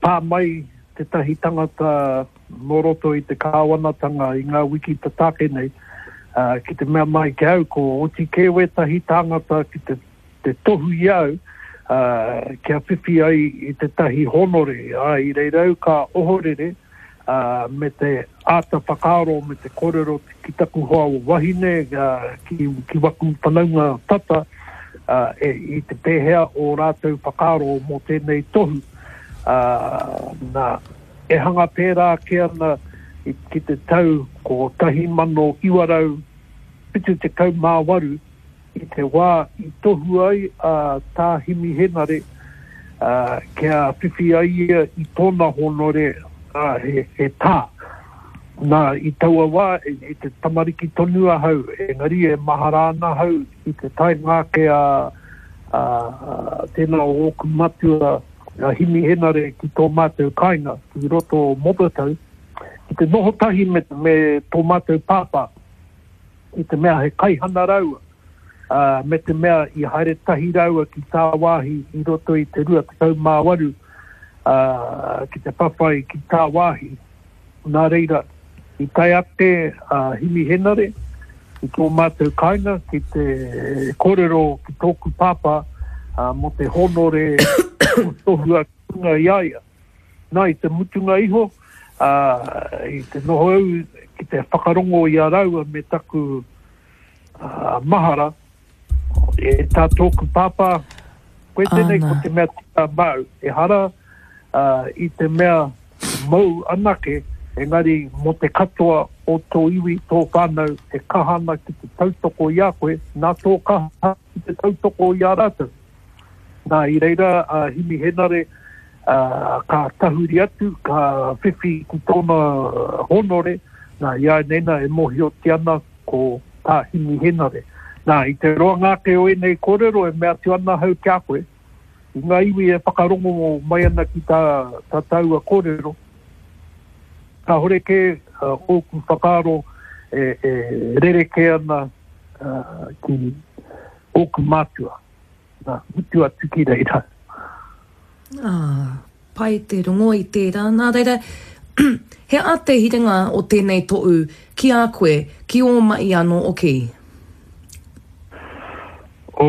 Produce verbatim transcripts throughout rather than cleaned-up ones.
Pā mai tētahi tangata nō roto i te kāwanatanga i ngā wiki tata ake nei, ā, ki te mea mai ki au, ko oti kē wētahi tāngata ki te, te tohu i au, ā, kia whiwhi ai i tētahi hōnore, ā, i reira au ka ohorere, ā, me te āta whakaaro me te kōrero ki taku hoa wahine, ā, ki, ki waku whanaunga tata, ā, e, i te pēhea o rātou whakaaro mō tēnei tohu, ā, nā, e hanga pērā ake ana i, ki te tau kotahi mano iwa rau whitu tekau mā waru, i te wā i tohu ai a Tā Himi Henare, ā, kia whiwhi ai ia i tōna hōnore, ā, he, he tā. Nā, i taua wā, i te tamariki tonu ahau, engari e mahara ana ahau i te taenga ake a, a, tēnā o ōku matua, a Himi Henare ki tō mātou kāinga, ki roto o Motatau, ki te noho tahi me, me tō mātou pāpā, i te mea he kaihana rāua, ā, me te mea i haere tahi rāua ki tāwāhi i roto i te rua tekau mā waru, ā, ki te whawhai ki tāwāhi. Nā reira, i tae ake a Himi Henare ki tō mātou kāinga ki te kōrero ki tōku pāpā mō te hōnore o tohua ki runga i a ia. Nā, i te mutunga iho, ā, i te noho au ki te whakarongo i a rāua me taku ā, mahara, e tā tōku pāpā, koe tēnei ko te mea tika māu, ehara ā, i te mea mōu anake, engari mō te katoa o tō iwi, tō whānau e kaha ana ki te tautoko i a koe, nā tō kaha ki te tautoko i a rātou. Nā, i reira a Himi Henare, ā, ka tahuri atu, ka whiwhi ki tōna hōnore, nā, i āianei nā e mōhiotia ana ko Tā Himi Henare. Nā, i te roanga ake o ēnei kōrero e mea atu ana ahau ki a koe, i ngā iwi e whakarongo mai ana ki tā, tā tāua kōrero, kāhore kē ōku whakaaro e, e rerekē ana ki ōku mātua. Nā, mutu atu ki reira. Ā, pai te rongo i tērā. Nā reira, he aha te hiringa o tēnei tohu ki a koe, ki ō mahi anō hoki? O,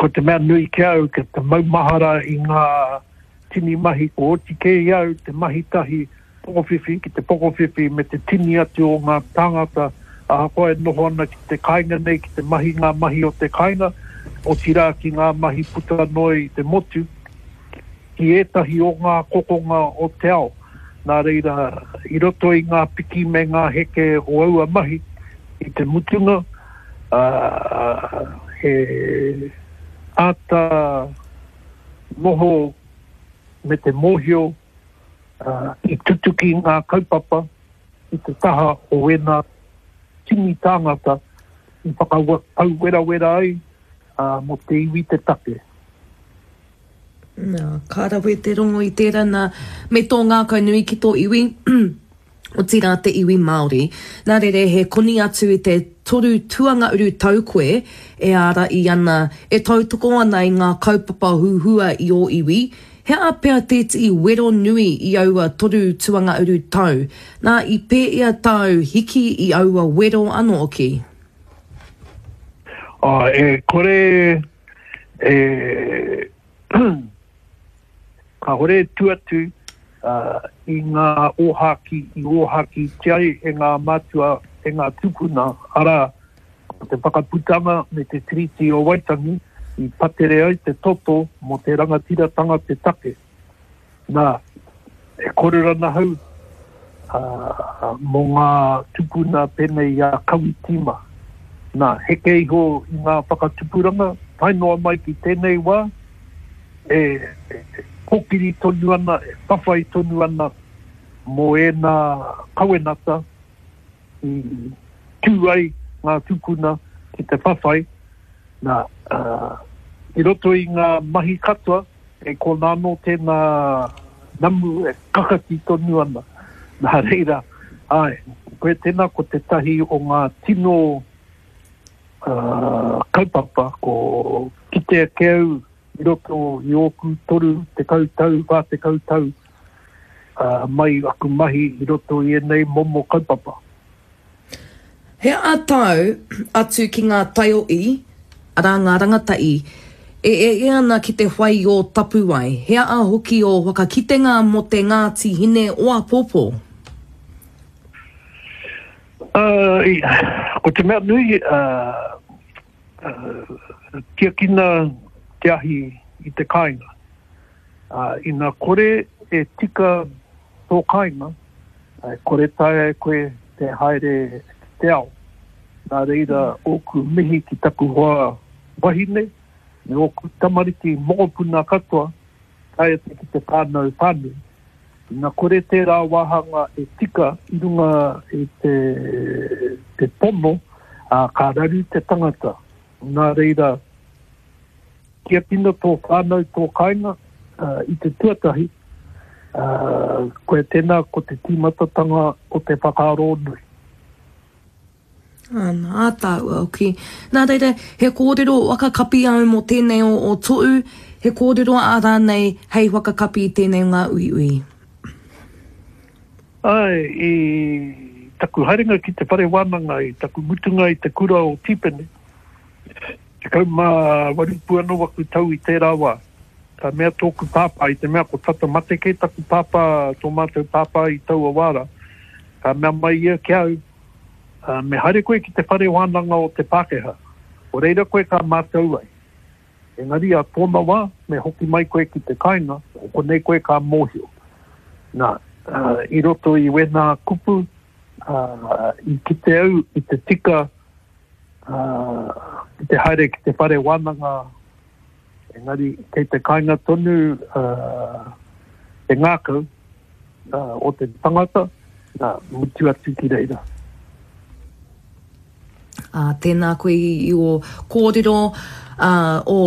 ko te mea nui ki a au, ki te maumahara i ngā tini mahi kua oti kē i a au te mahi tahi pokowhiwhi ki te pokowhiwhi me te tini atu o ngā tāngata ahakoa e noho ana ki te kāinga nei ki te mahi ngā mahi o te kāinga, otirā ki ngā mahi puta noa i te motu, ki ētahi o ngā kokonga o te ao. Nā reira, i roto i ngā piki me ngā heke o aua mahi, i te mutunga, ā, he āta noho me te mōhio i tutuki ngā kaupapa i te taha o ēnā tini tāngata i whakapauwerawera ai mō te iwi te take. Nā, ka rawe te rongo i tērā nā, me tō ngākau nui ki tō iwi, otirā te iwi Māori. Nā reira, he koni atu i te toru tuanga uru tau koe e ārahi ana, e tautoko ana i ngā kaupapa huhua i ō iwi, he aha pea tētehi wero nui i aua toru tuanga uru tau? Nā, i pēhea tāu hiki i aua wero anō hoki? Oh, e kore e Kāore e tū atu i ngā ōhākī i ōhākītia ai e ngā mātua, e ngā tūpuna, arā, ko te Whakaputanga me te Tiriti o Waitangi i patere ai te toto mō te rangatiratanga te take. Nā, e kōrero ana ahau mō ngā tūpuna pēnei i a Kawiti mā. Nā, heke iho i ngā whakatupuranga, tae noa mai ki tēnei wā, e kōkiri tonu ana, e whawhai tonu ana mō ēnā kawenata i tū ai ngā tūpuna ki te whawhai, nā, i roto i ngā mahi katoa, kei konā anō tēnā namu e kakati tonu ana. Nā reira, āe, koe tēnā ko tētahi o ngā tino kaupapa ko kite ake au i roto i ōku toru tekau tau, whā tekau tau mai aku mahi i roto i ēnei momo kaupapa. He aha tāu atu ki ngā taiohi, arā ngā rangatahi, e ea ana ki te whai i ō tapuwae, he aha hoki ō whakakitenga mō te Ngāti Hine o āpōpō? Uh, ko te mea nui, uh, uh, tiakina te ahi i te kāinga. Uh, ina kore e tika tō kāinga, e kore taea e koe te haere ki te ao. Nā reira ōku mihi ki taku hoa wahine, me ōku tamariki mokopuna katoa, tae atu ki te whānau whānui. Ina kore tērā wāhanga e tika i runga i te, te pono, ā, ka raru te tangata. Nā reira, tiakina tō whānau, tō kāinga, i te tuatahi, ā, koia tēnā ko te tīmatatanga o te whakaaro nui. Ana, ā tāua hoki. Nā reira, he kōrero whakakapi au mō tēnei o, o toʻu, he kōrero ā rānei hei whakakapi i tēnei o ngā uiui. Āe, i taku haerenga ki te whare wānanga, i taku mutunga i te kura o Tīpene, tekau mā waru pū anō aku tau i tērā wā. Ka mea tōku pāpā, i te mea ko tata mate kē taku pāpā, tō mātou pāpā i taua wā rā, ka mea mai ia ki a au, Me haere koe ki te whare wānanga o te Pākehā, ko reira koe ka mātau ai. Engari a tōna wā, me hoki mai koe ki te kāinga, ko konei koe ka mōhio. Nā, i roto i wēnā kupu, i kite au i te tika ki te haere ki te whare wānanga, engari kei te kāinga tonu te ngākau o te tangata, nā, mutu atu ki reira. Ā, tēnā koe i ō kōrero, ā, ō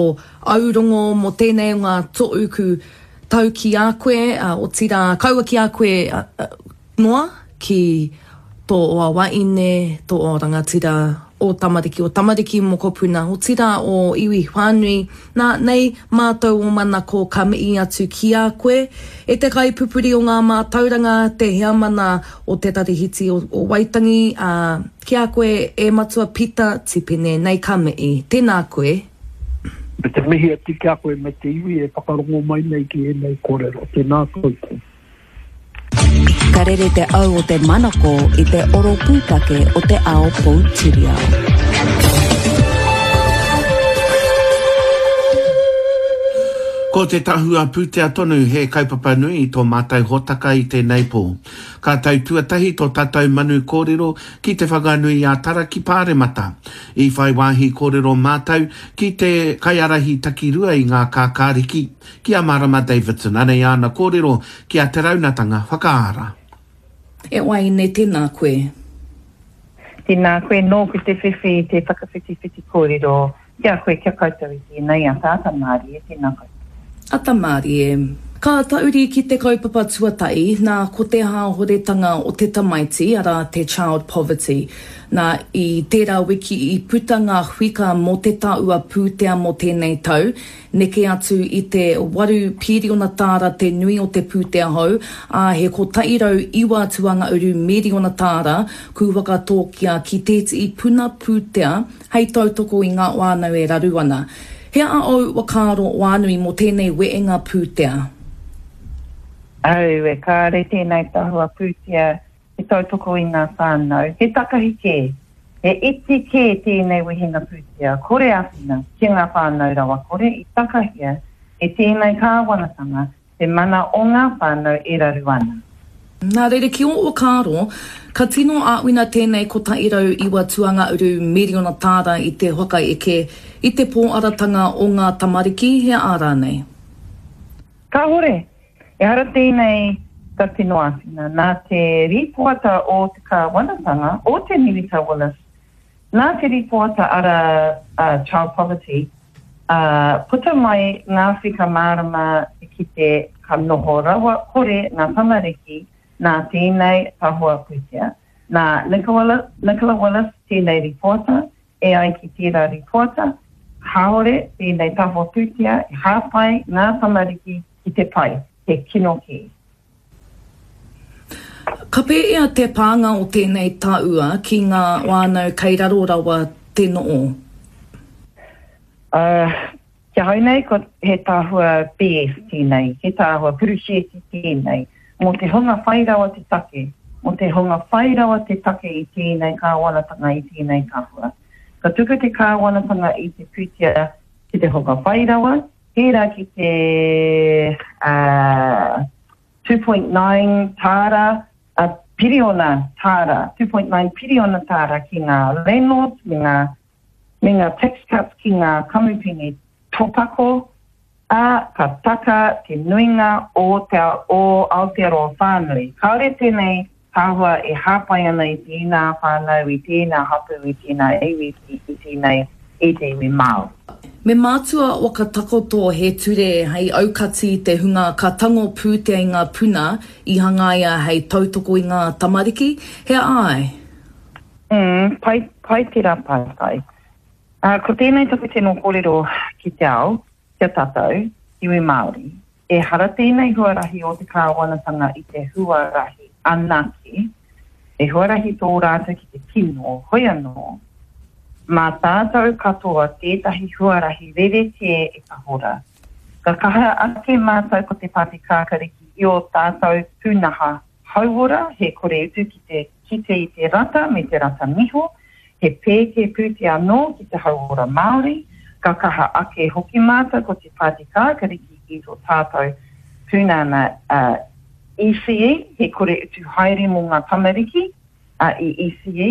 aurongo mō tēnei o ngā tohu ku tau ki a koe, ā, otirā, kaua ki a koe noa, ki tō oa wahine, tō oa rangatira, ō tamariki, ō tamariki mokopuna, otirā ō iwi whānui, nā, nei mātou ō manako ka mihi atu ki a koe, e te kaipupuri o ngā mātauranga, te heamana o Te Tarihiti o Waitangi, ā, ki a koe e Matua Pita Tipene, nei ka mihi. Tēnā koe. Me te mihi atu ki a koe me te iwi e whakarongo mai nei ki ēnei kōrero. Tēnā koutou. Ka rere te au o te manako i te oro pūtake o te ao poutiriao. Ko te tahua pūtea tonu he kaupapa nui i tō mātou hōtaka i tēnei pō. Ka tau tuatahi tō tātou manu kōrero ki Te Whanganui-a-Tara ki Pāremata. I whai wāhi kōrero mātou ki te kaiārahi takirua i ngā kākāriki, ki a Marama Davidson. Anei āna kōrero ki a Te Raunatanga Whakaara. E Waeine, tēnā koe. Tēnā koe, nōku te whiwhi i te whakawhitiwhiti kōrero ki a koe, ki a koutou i tēnei ata, ata mārie, tēnā koutou. Ata mārie. Ka tahuri ki te kaupapa tuatahi, nā, ko te hāhoretanga o te tamaiti, arā, te child poverty. Nā, i tērā wiki i puta ngā huika mō te tahua pūtea mō tēnei tau, neke atu i te waru pīriona tāra te nui o te pūtea hou, ā, he kotahi rau iwa tuangauru mīriona tāra ku whakatōkia ki tētehi puna pūtea hei tautoko i ngā whānau e raru ana. He aha ōu whakaaro whānui mō tēnei wehenga pūtea? Aue, kāre tēnei tahua pūtea e tautoko i ngā whānau. He takahi kē, he iti kē tēnei wehenga pūtea, kore āwhina ki ngā whānau rawakore i takahia e tēnei kāwanatanga te mana o ngā whānau e raru ana. Nā reira, ki ō whakaaro, ka tino āwhina tēnei kotahi rau iwa tuangauru miriona tāra i te whakaeke i te pōaratanga o ngā tamariki, he aha rānei? Kāhore. Ehara tēnei ka tino āwhina. Nā te rīpoata o te kāwanatanga, o te Minita Willis, nā te rīpoata ara Child Poverty, ā, puta mai ngā whika mārama te kite ka noho rawa kore ngā tamariki nā tēnei tahua pūtea. Nā Nicola, Nicola Willis tēnei rīpoata, e ai ki tērā rīpoata, kāore tēnei tahua pūtea e hāpai ngā tamariki ki te pai, he kino kē. Ka pēhea te pānga o tēnei tahua ki ngā whānau kei raro rawa te noho? Uh, ki ahau nei, ko he tahua B S tēnei, he tahua purusheti tēnei, mō te hunga whai rawa te take, mō te hunga whai rawa te take i tēnei kāwanatanga, i tēnei tahua. Ka tuku te kāwanatanga i te pūtea ki te hunga whai rawa, pērā ki te uh, two point nine tāra, uh, piriona tāra, two point nine piriona tāra ki ngā landlords, me ngā, me ngā tax cuts ki ngā kamupene topako, ā, ka taka te nuinga o te o Aotearoa whānui. Kāore tēnei tahua e hāpai ana i tēnā whānau, i tēnā hapū, i tēnā iwi, i tēnei i te iwi Māori. Me mātua whakatakoto he ture hei aukati te hunga ka tango pūtea i ngā puna i hangaia hei tautoko i ngā tamariki, he ai? Mm, pai, pai te rā pātai. Uh, ko tēnei taku tino kōrero ki te ao, kia tātou, iwi Māori. E hara tēnei huarahi o te kāwanatanga i te huarahi anake, e huarahi tō rātou ki te kino, hoi anō, mā tātou katoa tētahi huarahi rerekē e tahora. Ka kaha ake mātou ko te Pāti Kākariki i o tātou pūnaha hauora, he kore utu ki te kite i te rata me te rata niho, he pēke pūtea anō ki te hauora Māori, ka kaha ake hoki mātou ko te Pāti Kākariki i tō tātou pūnana uh, E C E, he kore utu haere mō ngā tamariki uh, i E C E,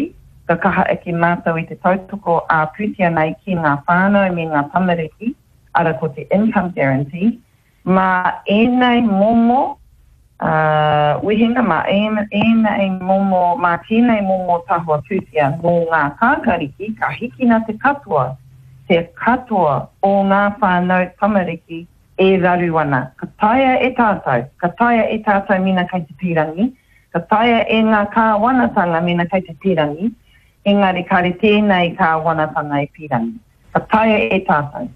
ka kaha ake mātou i te tautoko a pūtea nei ki ngā whānau me ngā tamariki, ara ko te income guarantee, mā ēnei momo uh, wehenga, mā ēnei momo, mā tēnei momo tahua pūtea nō ngā kākariki, ka hikina te katoa, te katoa o ngā whānau tamariki e raru ana. Ka taea e tātou, ka taea e tātou mena kei te pīrangi, ka taea e ngā kāwanatanga mena kei te pīrangi, engari kare tēnei kāwanatanga e pīrangi. Ka taea e tātou.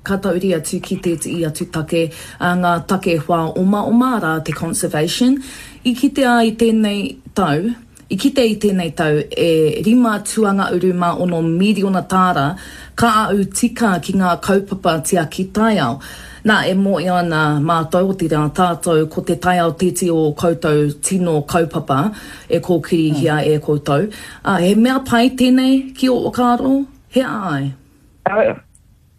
Ka tauri atu ki tētehi atu take, a ngā take whā oma oma rā te conservation. I kitea i tēnei tau, i kite i tēnei tau e rima tuanga uru mā ono miriona tāra ka au tika ki ngā kaupapa tiaki taiao. Nā, e mōhio ana mātou o te rā tātou ko te taiao tēti o koutou tino kaupapa e kōkirihia e koutou. Uh, he mea pai tēnei ki o whakaaro? He ai? Au,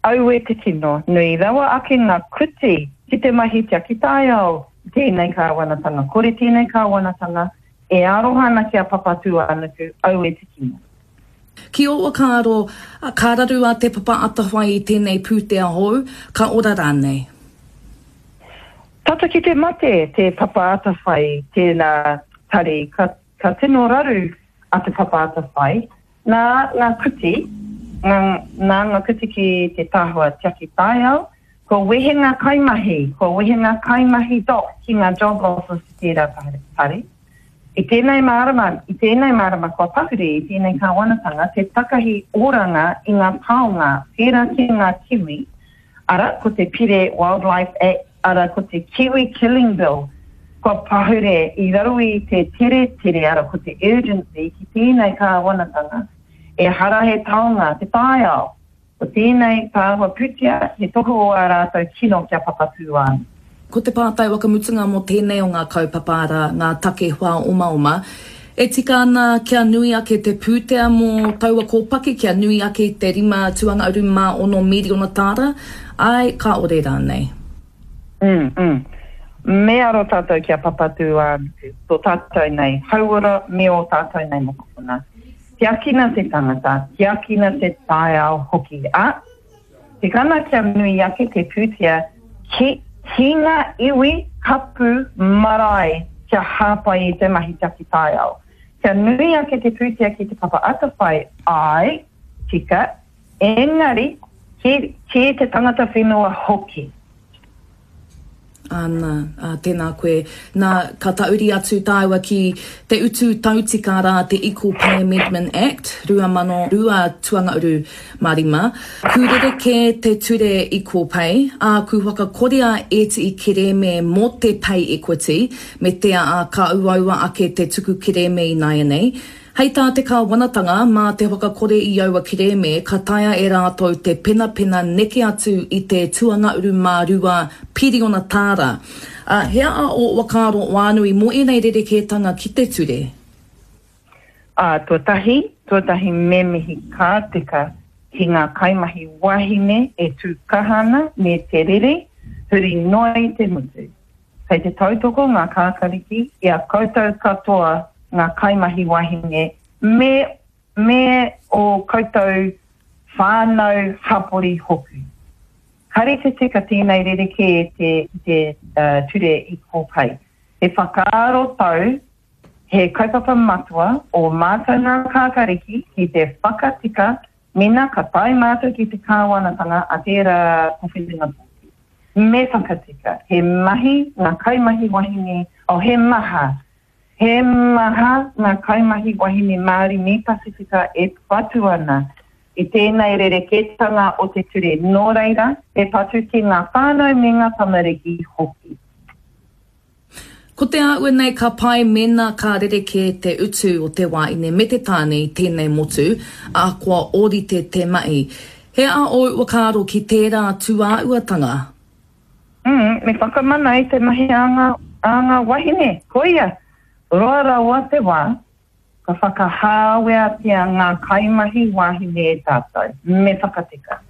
aue te tino, nui rawa ake ngā kuti ki te mahi tiaki taiao. Tēnei kāwanatanga, kore tēnei kāwanatanga, e aroha ana ki a Papatūānuku, aue te kino. Ki o whakaaro, ka raru a Te Papa Atawhai i tēnei pūtea hou, ka ora rānei? Tata ki te mate Te Papa Atawhai tēnā tari, ka, ka tino raru a Te Papa Atawhai, nā ngā kuti, ngā, nā ngā kuti ki te tahua tiaki taiao, kua wehe ngā kaimahi, kua wehe ngā kaimahi doc ki ngā job losses ki tērā tari. I tēnei mārama, i tēnei mārama kua pahure, i tēnei kāwanatanga, te takahi oranga i ngā taonga, pērā ki ngā kiwi, ara ko te Pire Wildlife Act, ara ko te Kiwi Killing Bill, kua pahure i raro i te tere tere, ara ko te urgency ki tēnei kāwanatanga, e hara he taonga, te taiao. Ko tēnei tāhua pūtea, he tohu o ā rātou kino kia Papatūānuku. Ko te pātai whakamutunga mō tēnei o ngā kaupapa arā, ngā take whā omaoma. E tika ana kia nui ake te pūtea mō taua kōpaki, kia nui ake te rima tuanga uru mā ono miriona tāra, ai, ka ore rānei. Mm, mm. Me aro tātou kia Papatūānuku, tō tātou nei hauora me o tātou nei mokopuna. Tiakina te tangata, tiakina te taiao hoki. A, te kana kia nui ake te pūtea ki ki ngā iwi hapu marae kia hāpai i te mahi tiaki taiao. Kia nui ake te pūtea ki te Papa Atawhai, ai, tika, engari, ki, ki te tangata whenua hoki. Āna, ā, tēnā koe. Nā, ka tahuri atu tāua ki te utu tautika rā te Equal Pay Amendment Act, rua mano rua tuangauru mā rima. Ku rerekē te ture Equal Pay, ā, ku whakakorea ētihi kerēme mō te pay equity, me te ā, ka uaua ake te tuku kerēme ināianei. Hei tā te kāwanatanga, mā te whakakore i aua kerēme ka taea e rātou te penapena neke atu i te tuangauru mā rua piriona tāra. Ā, he aha ō whakaaro whānui mō ēnei rerekētanga ki te ture? Ā, tuatahi, tuatahi me mihi ka tika ki ngā kaimahi wahine e tū kaha ana me te rere huri noa i te motu. Kei te tautoko ngā kākariki i a koutou katoa ngā kaimahi wahine me me ō koutou whānau hapori hoki. Kare te tika tēnei rerekē te ki te ture Equal Pay. He whakaaro tau, he kaupapa matua o mātou ngā kākariki ki te whakatika mena ka tae mātou ki te kāwanatanga a tērā kōwhiringa pōti. Me whakatika, he mahi ngā kaimahi wahine, oh he maha, he maha ngā kaimahi wahine Māori me Pasifika e patu ana i tēnei rerekētanga o te ture, nō reira, he patu ki ngā whānau me ngā tamariki hoki. Ko te āhua nei ka pai mēnā ka rerekē te utu o te wāine me te tāne i tēnei motu, ahakoa ōrite te mahi. He aha ōu whakaaro ki tērā tūāhuatanga? Mm, me whakamana i te mahi a ngā, a ngā wahine. Koia, roa rawa te wā, ka whakahāweatia ngā kaimahi wāhine e tātou. Me whakatika.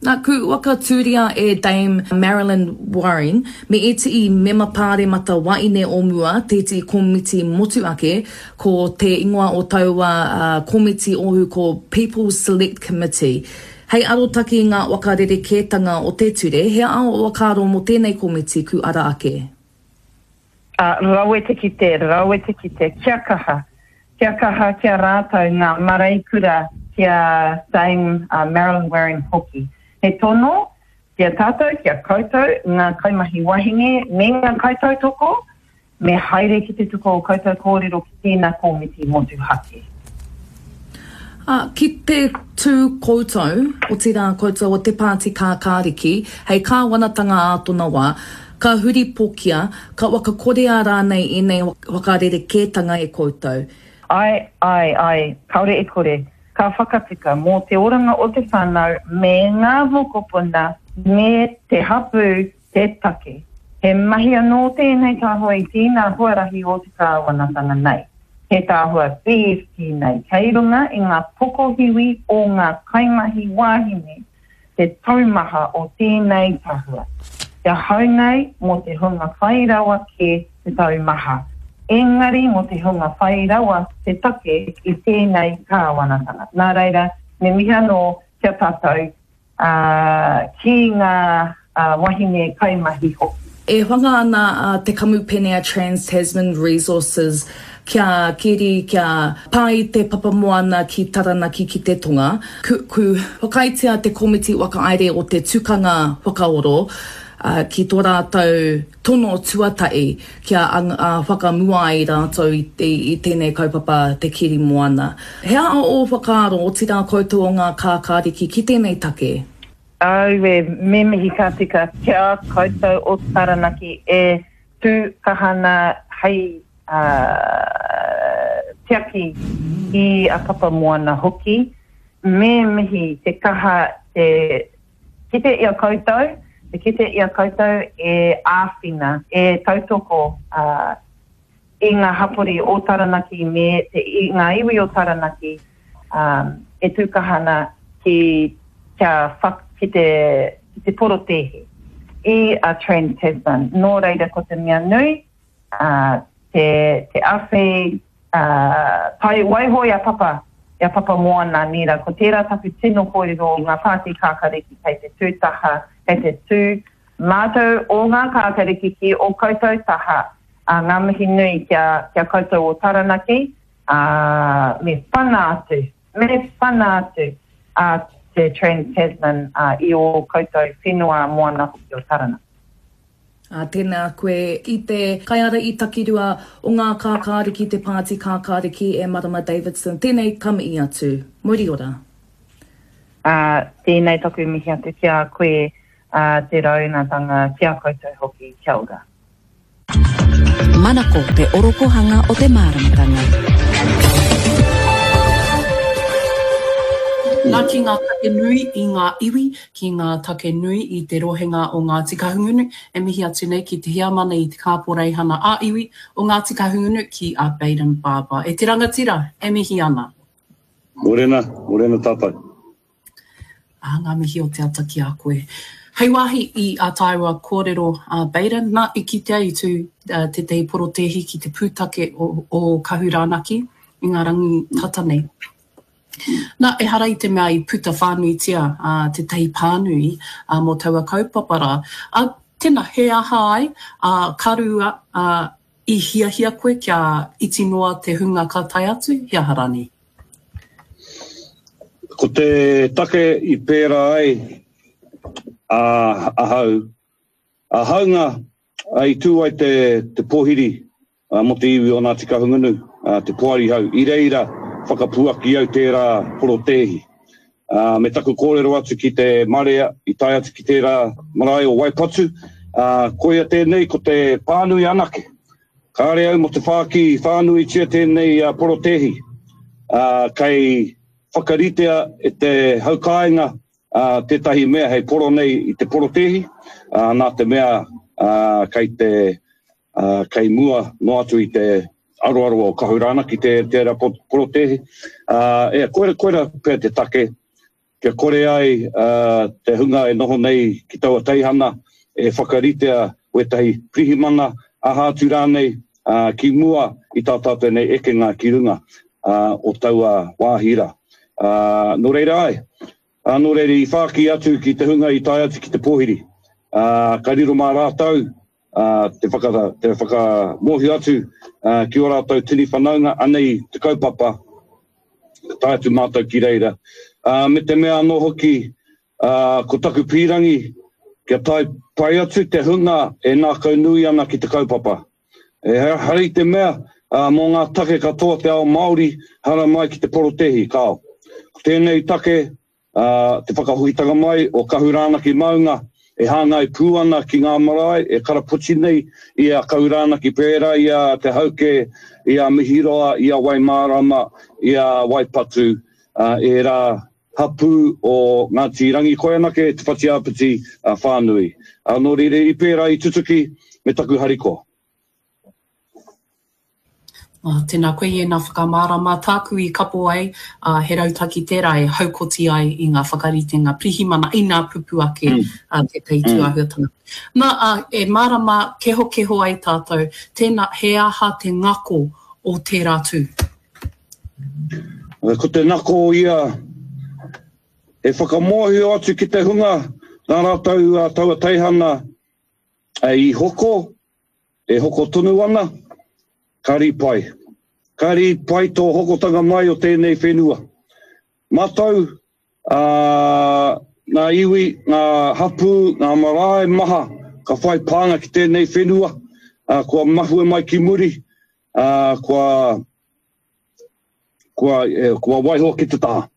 Nā, ku whakatūria e Dame Marilyn Waring me ētehi mema pāremata waeine o mua tētehi komiti motuhake, ko te ingoa o taua komiti ohu ko People's Select Committee. Hei arotake i ngā whakarerekētanga o te ture, he aha ō whakaaro mō tēnei komiti ku ara ake? Ā, rawe te kite, rawe te kite, kia kaha, kia kaha ki a rātou ngā mareikura ki a Dame Marilyn Waring hoki. He tono ki a tātou, ki a koutou, ngā kaimahi wahine me ngā kaitautoko, me haere ki te tuku o koutou kōrero ki tēnā kōmiti motuhake. Ā, ki te tū koutou, otirā koutou o te Pāti Kākāriki, hei kāwanatanga ā tōna wā, ka huripokia, ka whakakorea rānei ēnei whakarerekētanga e koutou. Āe, āe, āe, kāore e kore, ka whakatika mō te oranga o te whānau me ngā mokopuna me te hapū te take. He mahi anō tēnei tahua i tēnā huarahi o te kāwanatanga nei. He tahua B F T nei kei runga i ngā pokohiwi o ngā kaimahi wāhine te taumaha o tēnei tahua. Ki ahau nei mō te hunga whai rawa kē te taumaha, engari mō te hunga whai rawa te take i tēnei kāwanatanga. Nā reira, me mihi anō ki a tātou, ā, ki ngā wahine kaimahi hoki. E whanga ana te kamupene a Trans Tasman Resources kia keri, kia pā i te papamoana ki Taranaki ki te tonga. Ku, ku whakaaetia te komiti whakahaere o te tukanga whakaoro ki tō rātou tono tuatahi kia whakamua ai rātou i, i, i tēnei kaupapa te keri moana. He aha ō whakaaro, otirā koutou o ngā kākāriki ki tēnei take? Aue, me mihi ka tika ki a koutou o Taranaki e tū kaha ana hei tiaki i a Papamoana hoki. Me mihi te kaha te kite i a koutou, te kite i a koutou e āwhina, e tautoko i ngā hapori o Taranaki me te, i ngā iwi o Taranaki e tū kaha ana ki, kia whak, ki te, ki te porotēhi i a Trans Tasman. Nō reira ko te mea nui, te, te awhi, tai, waiho i a Papa, i a Papamoana, nīra, ko tērā taku tino kōrero o ngā pāti kākariki kei te tū taha, kei te tū mātou o ngā kākariki ki o koutou taha, ā, ngā mihi nui ki a, ki a koutou o Taranaki, ā, me whana atu, me whana atu a te Trans Tasman, ā, i ō koutou whenua moana hoki o Taranaki. Ā, tēnā koe i te kaiārahi takirua o ngā Kākāriki, te Pāti Kākāriki e Marama Davidson. Tēnei ka mihi atu. Mauri ora. Ā, tēnei taku mihi atu ki a koe, ā, te raunatanga, ki a koutou hoki. Kia ora. Manako te orokohanga o te māramatanga. Nā ki ngā take nui i ngā iwi, ki ngā take nui i te rohenga o Ngāti Kahungunu, e mihi atu nei ki te heamana i te Kāporeihana ā-Iwi o Ngāti Kahungunu ki a Bayden Barber. E te rangatira, e mihi ana. Morena, morena tātou. Ā, ngā mihi o te ata ki a koe. Hei wāhi i ā tāua kōrero a Bayden, nā, i kitea i tū tētahi porotēhi ki te pūtake o, o Kahurānaki i ngā rangi tata nei. Nā, ehara i te mea i puta whānuitia ā, tētahi pānui ā, mō taua kaupapa rā. Ā, tēnā, he aha ai, ā, ka rua, ā, i hiahia koe kia iti noa te hunga ka tae atu, he aha rānei? Ko te take i pērā ai a ahau, a hāunga i tū ai te, te pōhiri mō te iwi o Ngāti Kahungunu, te Poari Hau, i reira whakapuaki au tērā porotēhi. Me taku kōrero atu ki te marea i tae atu ki tērā marae o Waipatu, koia tēnei ko te pānui anake. Kāre au mō te whāki whānuitia tēnei porotēhi, kei whakaritea e te haukāinga tētahi mea hei poro nei i te porotēhi, nā te mea kei te kei mua noa atu i te aroaro o Kahurānaki tērā porotēhi. E, koira, koira pea te take, kia kore ai te hunga e noho nei ki taua teihana e whakaritea wētahi pirihimana, aha atu rānei, ki mua i tā tātou nei ekenga ki runga o taua wāhi rā. Nō reira ai, nō reira i whāki atu ki te hunga i tae atu ki te pōhiri, ka riro mā rātou te whaka, te whakamōhio atu ki ō rātou tini whanaunga, anei te kaupapa, ka tae atu mātou ki reira. Me te mea anō hoki, ko taku pīrangi, kia tae pai atu te hunga e ngākau nui ana ki te kaupapa. Ehara i te mea, mō ngā take katoa te ao Māori, haramai ki te porotēhi, kāo. Ko tēnei take, te whakahokitanga mai o Kahurānaki maunga, e hāngai pū ana ki ngā marae e karapoti nei i a Kahurānaki pērā i a Te Hauke, i a Mihiroa, i a Waimārama, i a Waipatu, ērā hapū o Ngāti Rangikoianake, Te Whatiāpiti whānui. Nō reira, i pērā i tutuki me taku harikoa. Oh, tēnā koe i ēnā whakamārama. Tāku i kapo ai, uh, he rautaki tērā e haukoti ai i ngā whakaritenga pirihimana inā pupu ake mm. uh, tētahi mm. tūāhuatanga. Nā, uh, e mārama kehokeho ai tātou, tēnā, he aha te ngako o tērā tū? Ko te ngako ia, e whakamōhio atu ki te hunga nā rātou uh, taua teihana i hoko, e hoko tonu ana, ka rīpai. Ka rīpai tō hokotanga mai o tēnei whenua. Mātou, uh, ngā iwi, ngā hapū, ngā marae maha, ka whai pānga ki tēnei whenua, uh, kua mahue mai ki muri, uh, kua, kua, eh, kua waiho ki te taha.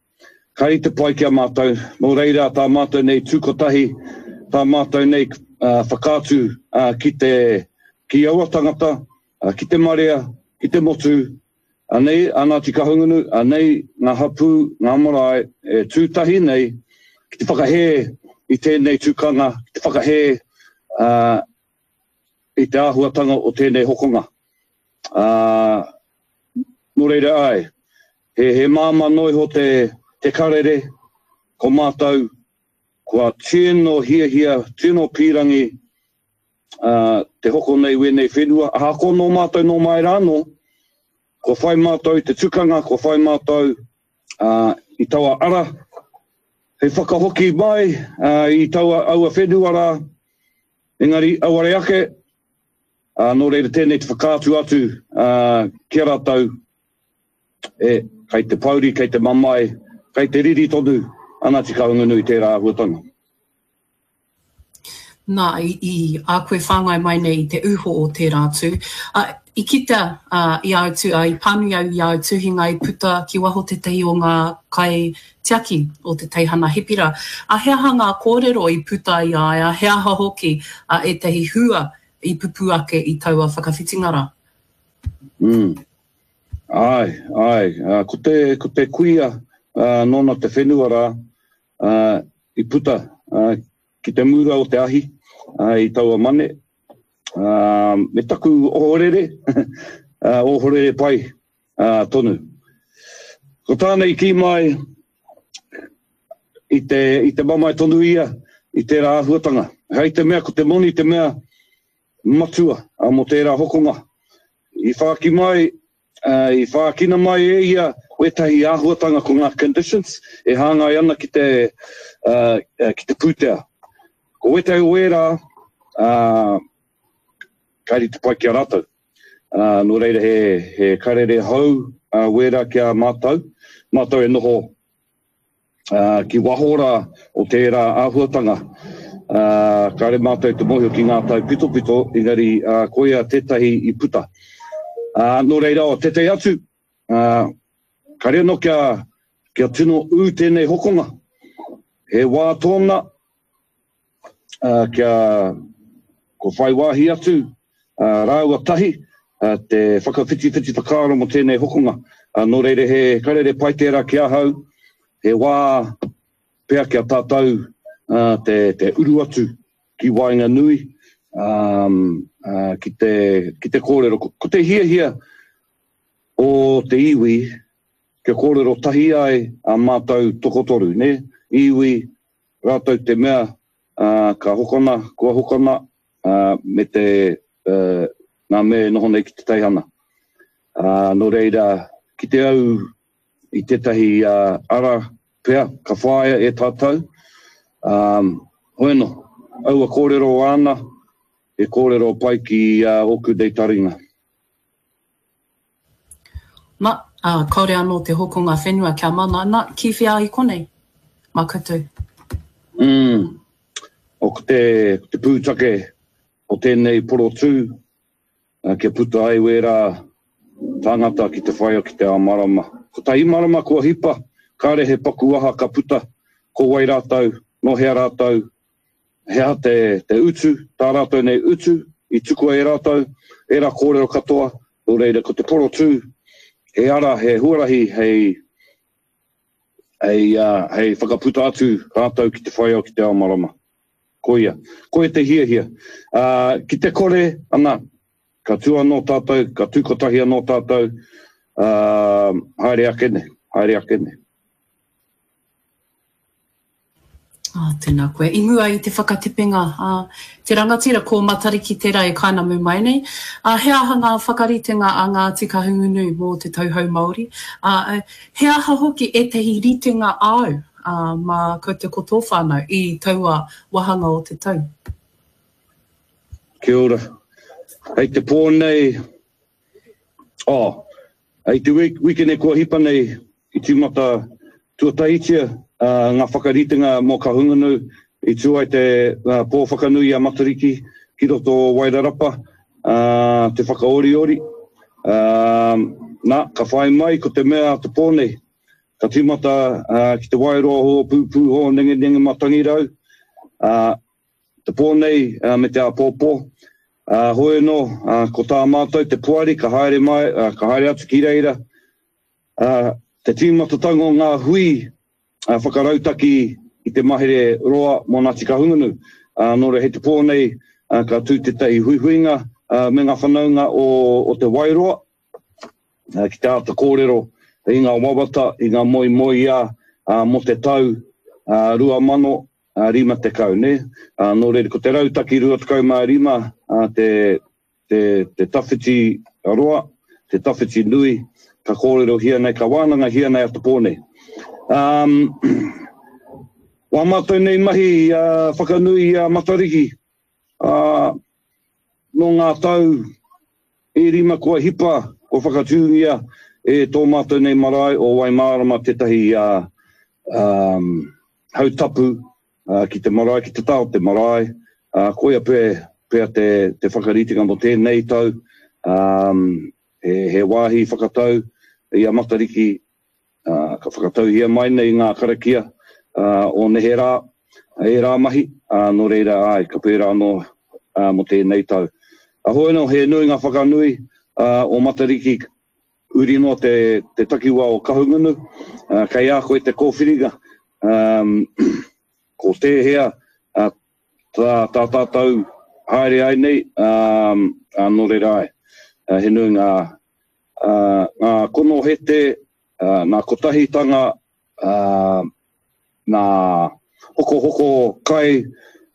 Ka rite pai ki a mātou, nō reira tā mātou nei tūkotahi, tā mātou nei uh, whakaatu uh, ki te ki aua tangata, uh, ki te marea, ki te motu, anei a Ngāti Kahungunu, anei ngā hapū, ngā marae, e tūtahi nei ki te whakahē i tēnei tukanga, ki te whakahē uh, i te āhuatanga o tēnei hokonga. Uh, nō reira ai, he, he māmā noa iho te, te karere, ko mātou, kua tino hiahia, tino pīrangi uh, te hoko nei wēnei whenua. Ahakoa nō mātou nō mai rānō, kua whai mātou i te tukanga, kua whai mātou uh, i taua ara, hei whakahoki mai uh, i taua aua whenua rā, engari auare ake, uh, nō reira tēnei te whakaatu atu uh, ki a rātou, e, kei te pouri, kei te mamae, kei te riri tonu a Ngāti Kahungunu i tērā āhuatanga. Nā, i, i a koe whāngai mai nei i te uho o tērā tū. Ā, i kitea, ā, i āu tū, ā, i pānui au i āu tuhinga i puta ki waho tētahi o ngā kaitiaki o te teihana Hepira. Ā, he aha ngā kōrero i puta i a ia, he aha hoki, ā, ētahi hua i pupū ake i taua whakawhitinga rā? Mm. Āe, āe. Ā, ko te, ko te kuia, ā, nōna te whenua rā, ā, i puta, ā, ki te mura o te ahi i taua mane, me taku ohorere, ohorere pai tonu. Ko tāna i kī mai, i te, i te mamae tonu ia i tērā āhuatanga. Hei te mea ko te moni te mea matua mō tērā hokonga. I whāki mai, i whākina mai e ia wētahi āhuatanga ko ngā conditions e hāngai ana ki te, ki te pūtea. Ko wētahi o ērā, kāre te pai ki a rātou. Nō reira he, he karere hou wērā ki a mātou, mātou e noho ki waho rā o tērā āhuatanga. Kāre mātou te mōhio ki ngā taipitopito, engari koia tētahi i puta. Nō reira, o tētahi atu, kāre anō kia, kia tino ū tēnei hokonga. He wā tōna kia ko whai wāhi atu rāua tahi te whakawhitiwhiti whakaaro mō tēnei hokonga. Nō reira, he karere pai tērā ki ahau, he wā pea kia tātou te, te uru atu ki waenganui, um, uh, ki te, ki te kōrero. Ko, ko te hiahia o te iwi, kia kōrero tahi ai a mātou tokotoru, ne? Iwi, rātou te mea uh, ka hokona, kua hokona, uh, me te uh, ngā mea e noho nei ki te teihana. Uh, nō reira, ki te au i tētahi uh, ara pea ka whāia e tātou. Um, hoeno, aua kōrero āna, e kōrero pai ki uh, ōku nei taringa. Na, uh, kāore anō te hokonga whenua kia mana, na, ki whea i konei? Mā koutou. Mm. O ko te, ko te pūtake o tēnei porotū, uh, kia puta ai wērā tāngata ki te whaia ki te ao marama. Kotahi marama kua hipa, kāre he paku aha ka puta, ko wai rātou, nō hea rātou, he aha te, te utu, tā rātou nei utu, i tukua e rātou, ērā kōrero katoa, nō reira ko te porotū, he ara, he huarahi, hei, hei, uh, hei whakaputa atu rātou ki te whaiao ki te ao marama. Koia, koia te hiahia. Uh, ki te kore, ana, ka tū anō tātou, ka tū kotahi anō tātou, uh, haere ake nei, haere ake nei. Ah, tēnā koe. I mua i te whakatepenga, ah, te rangatira ko Matariki tērā e kainamu mai nei. Ah, he aha ngā whakaritenga a Ngāti Kahungunu mō te tauhou Māori? Ah, he aha hoki ētahi ritenga āu ah, mā koutou ko tō whānau i taua wāhanga o te tau? Kia ora. Hei te pō nei, oh, hei te wikene kua hipa nei i tīmata tuatahitia uh, ngā whakaritenga mō Kahungunu i tū ai te uh, pō whakanui a Matariki ki roto o Wairarapa, uh, te whakaoriori. Uh, nā, ka whai mai ko te mea te pō nei. Ka tīmata uh, ki te Wairoa hō pūpū hō nenge nenge matangirau, uh, te pō nei uh, me te āpōpō. Uh, hoi anō, uh, ko tā mātou te poari ka haere mai, uh, ka haere atu ki reira. Uh, te tīmatatanga o ngā hui uh, whakarautaki i te mahere roa mō Ngāti Kahungunu. Uh, nō reira hei te pō nei uh, ka tū tētahi huihuinga uh, me ngā whanaunga o, o te Wairoa uh, ki te āta kōrero i ngā wawata, i ngā moemoeā uh, mō te tau uh, rua mano rima tekau, ne? Uh, nō reira, ko te rautaki rua tekau mā rima uh, te, te, te tawhiti roa, te tawhiti nui, ka kōrero hia nei, ka wānanga hia nei a te pō nei. Um, wā mātou nei mahi uh, whakanui a Matariki, uh, nō ngā tau e rima kua hipa, kua whakatūngia e tō mātou nei marae o Waimārama tētahi uh, um, hautapu uh, ki te marae, ki te taha o te marae, Ā, koia pea, pea te, te whakaritenga mō tēnei tau, ā, he, he wāhi whakatau i a Matariki, ā, ka whakatauhia mai nei ngā karakia, ā, o neherā, ērā mahi, ā, nō reira, āe, ka pērā anō, ā, mō tēnei tau. Ā, hoi anō, he nui ngā whakanui, ā, o Matariki, huri noa te, te takiwā o Kahungunu, ā, kei a koe te kōwhiringa, ā, ko tēhea, ā, tā, tā tātou haere ai nei, ā, ā, nō reira ai, he nui ngā, ā, ngā konohete, ā, ngā kotahitanga, ā, ngā hokohoko kai,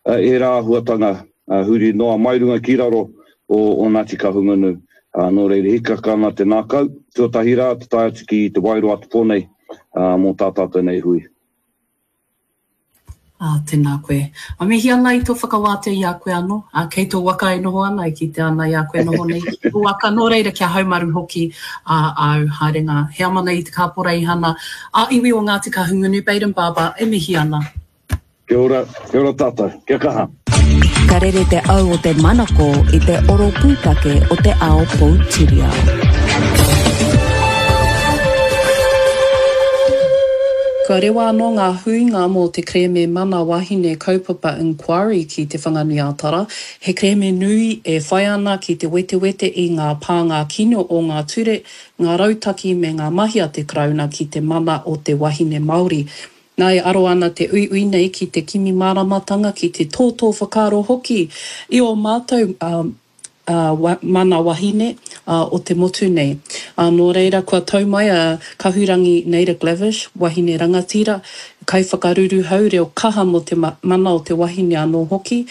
ā, ērā āhuatanga, ā, huri noa mai runga ki raro o, o Ngāti Kahungunu, ā, nō reira hikaka ana te ngākau, tuatahi rā te tae atu ki Te Wairoa te pō nei, ā, mō tā tātou nei hui. Ā, tēnā koe. A mihi ana i tō whakawātea i a koe anō, ā, kei tō waka e noho ana, e kitea ana i a koe noho nei ki tō waka, nō reira kia haumaru hoki ā āu haerenga. Heamana i te Kāporeihana ā iwi o Ngāti Kahungunu, Bayden Barber, e mihi ana. Kia ora, kia ora tātou, kia kaha. Ka rere te au o te manako i te oro pūtake o te ao poutiriao. Kua rewa anō ngā huinga mō te kerēme Mana Wahine Kaupapa Inquiry ki Te Whanganui-a-Tara, he kerēme nui e whai ana ki te wetewete i ngā pānga kino o ngā ture, ngā rautaki me ngā mahi a te Karauna ki te mana o te wahine Māori. Nā, e aro ana te uiui nei ki te kimi māramatanga, ki te tōtō whakaaro hoki i ō mātou mana wahine o te motu nei. Nō reira, kua tau mai a Kahurangi Naida Glavish, wahine rangatira, kaiwhakaruruhau reo kaha mō te mana o te wahine anō hoki,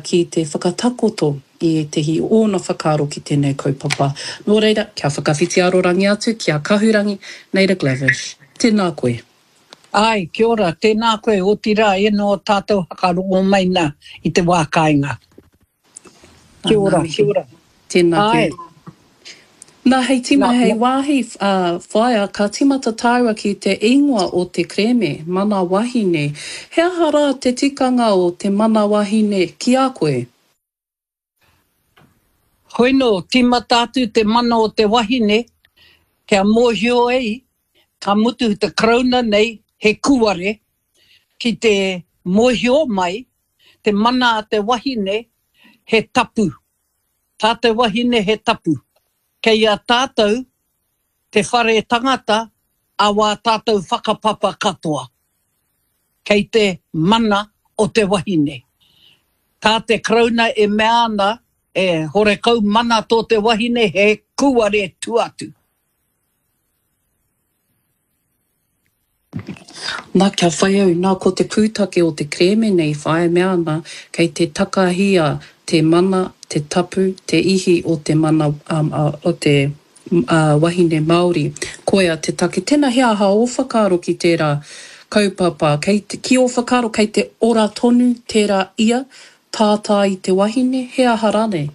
ki te whakatakoto i ētehi o ōna whakaaro ki tēnei kaupapa. Nō reira, kia whakawhiti arorangi atu ki a Kahurangi Naida Glavish. Tēnā koe. Āe, kia ora, tēnā koe, otirā, ēnā o tātou hakarongo mai nā i te wā kāinga. Kia ora, kia ora. Tēnā koe. Nā, hei tīma, hei wāhi, whaea, ka tīmata tāua ki te ingoa o te kerēme, Mana Wahine. He aha rā te tikanga o te mana wahine ki a koe? Hoi nō, tīmata atu te mana o te wahine, kia mōhio ai, ka mutu te Karauna nei he kūare, ki te mōhio mai, te mana a te wahine he tapu. Tā te wahine he tapu. Kei a tātou te whare tangata a wā tātou whakapapa katoa. Kei te mana o te wahine. Tā te Karauna e mea ana, e horekau mana tō te wahine he kūare tuatu. Na, kia whai au, na, ko te pūtake o te kerēme nei, whāia mea ana, kei te takahia te mana, te tapu, te ihi o te mana, um, o te uh, wahine Māori. Koia te take. Tēnā, he aha ō whakaaro ki tērā kaupapa? Kei te, ki ō whakaaro, kei te ora tonu tērā ia, tātā i te wahine, he aha rānei?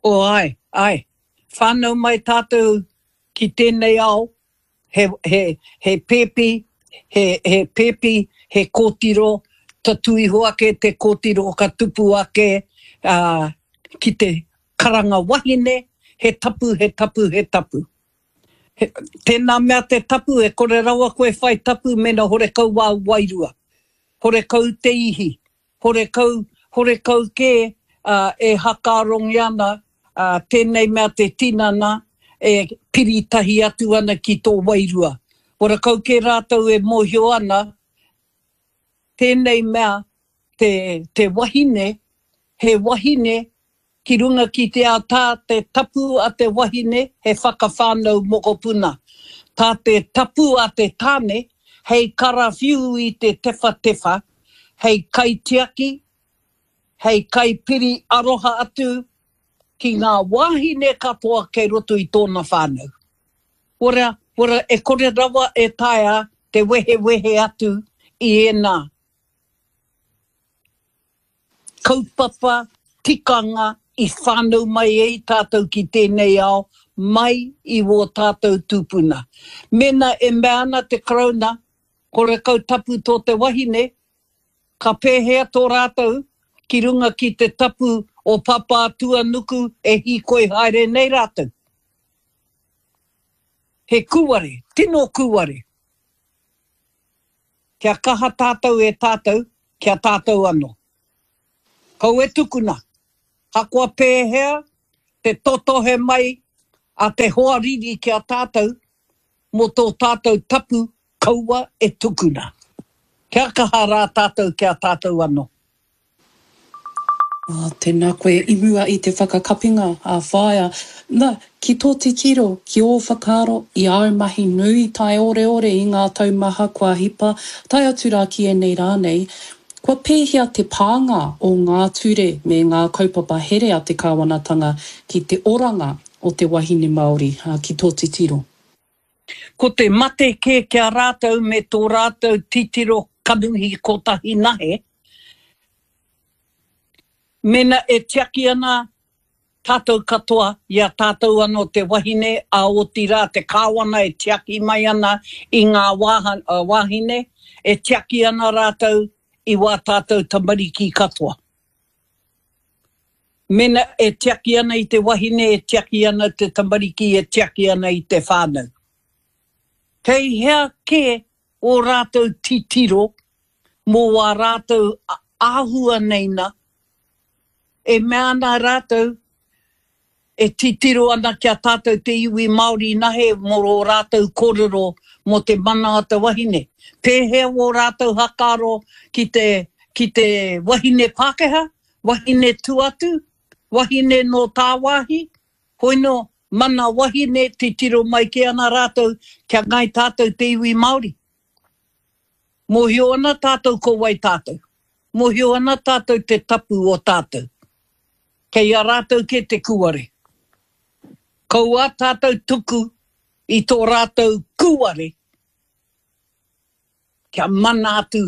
Oh, āe, āe. Whānau mai tātou ki tēnei ao, he, he, he pēpi, he, he pēpi, he kōtiro, tatū iho ake te kōtiro ka tupu ake, ā, ki te karanga wahine, he tapu, he tapu, he tapu. He, tēnā mea te tapu, e kore rawa koe whai tapu mēnā horekau wāu wairua, horekau te ihi, horekau, horekau kē, ā, e hakaarongi ana, ā, tēnei mea te tinana e piri tahi atu ana ki tō wairua. Horekau kē rātou e mōhio ana, tēnei mea te, te wahine, he wahine ki runga ki te ao tā te tapu a te wahine he whakawhānau mokopuna. Tā te tapu a te tāne hei karawhiu i te tewhatewha, hei kaitiaki, hei kaipiri aroha atu ki ngā wāhine katoa kei roto i tōna whānau. Ora, ora, e kore rawa e taea te wehewehe atu i ēnā kaupapa, tikanga i whānau mai ai tātou ki tēnei ao mai i wō tātou tūpuna. Mēnā e mea ana te Karauna horekau tapu tō te wahine, ka pēhea tō rātou ki runga ki te tapu o Papātuanuku e hīkoi haere nei rātou. He kūare, tino kūare. Kia kaha tātou e tātou, kia tātou anō. Kaua e tukuna, hakoa pēhea te totohe mai a te hoariri ki a tātou mō tō tātou tapu kaua e tukuna. Kia kaha rā tātou ki a tātou anō. Ā, tēnā koe i mua i te whakakapinga a Whaea. Na, ki tō titiro, ki ō whakaaro, i āu mahi nui taioreore i ngā tau maha kua hipa, tae atu rā ki ēnei rā nei, kua pēhea te pānga o ngā ture me ngā kaupapa here a te kāwanatanga ki te oranga o te wahine Māori, ā, ki tō titiro? Ko te mate kē ki a rātou me tō rātou titiro kanohi kotahi nahe, Mena e tiaki ana tātou katoa i a tātou anō te wahine, ā, otirā te kāwana e tiaki mai ana i ngā wāhine, e tiaki ana rātou i wā tātou tamariki katoa. Mena e tiaki ana i te wahine, e tiaki ana te tamariki, e tiaki ana i te whānau. Kei hea kē ō rātou titiro mō wā rātou āhua nei na, e mea ana rātou, e titiro ana ki a tātou te iwi Māori nahe mō ō rātou kōrero mō te mana o te wahine. Pēhea wō rātou hakaaro ki te, ki te wahine Pākehā, wahine tuatu, wahine nō tāwāhi, hoino, mana wahine, titiro mai kē ana rātou kia ngai tātou te iwi Māori. Mōhio ana tātou ko wai tātou. Mōhio ana tātou te tapu o tātou. Kei a rātou kē te kūare. Kaua tātou tuku i tō rātou kūare kia mana atu